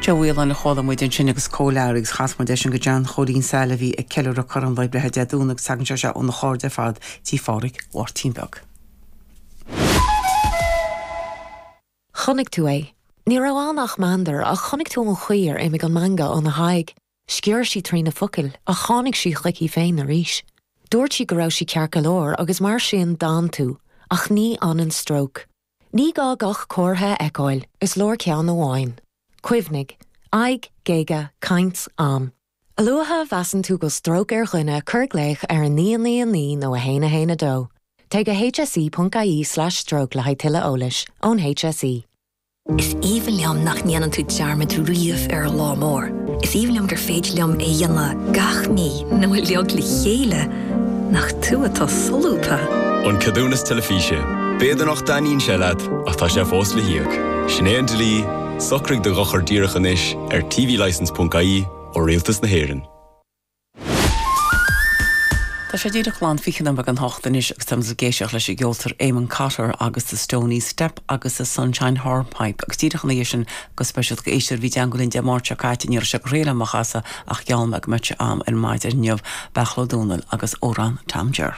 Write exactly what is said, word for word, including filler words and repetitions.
Joe Whelan a chuala muid ansin agus Comhlear agus chas muid sin go John Chóilín Sail a bhí ag ceiliúradh corn lae breithe Dé Domhnaigh agus tagann sé seo óna chairde ar fad tí Phádraig Mháirtín Beag. Chonaic tú é. Ní raibh ann ach meandar ach chonaic tú an chaoi ar imigh an meangadh óna haghaidh. Sciorr sí trí na focail ach tháinig sí chuici féin arís. Dúirt sí go raibh sí ceart go leor agus mar sin d'fhan tú, ach ní fhanann stróc. Ní gá gach comhartha a fheiceáil, is leor ceann amháin. Cuimhnigh, aghaidh, géaga, caint, am. A luaithe a mheasann tú go stróc ar dhuine cuir glaoch ar a naoi naoi naoi nó a haon a haon a dó. Téigh go hse.ie slash stroke le haghaidh tuilleadh eolais ón HSE. Is aoibhinn liom nach ndéanann tú dearmad riamh ar an lá mór. Is aoibhinn liom gur féidir liom é dhéanamh gach mí nó uilig le chéile nach tú atá solúbtha. An ceadúnas teilifíse. B'fhéidir nach dtaitníonn sé leat ach tá sé fós le híoc. Sin é an dlí, socraigh do dhochar díreach anois ar tvlicence.ie ó Rialtas na hÉireann. Tá sé díreach lán fiche nóiméad don hocht anois agus táim ag éisteacht leis an gceoltóir Eamon Cotter agus the Stony Step agus the Sunshine Hornpipe agus díreach ina dhiaidh sin go speisialta d'éisteoir a bhí i dteagmháil linn Dé Máirt seo caite ní raibh sé go réile amach as ach gheall mé go mbeadh sé am ar maidin inniu Beachla Dúnal agus Órán Tom Jer.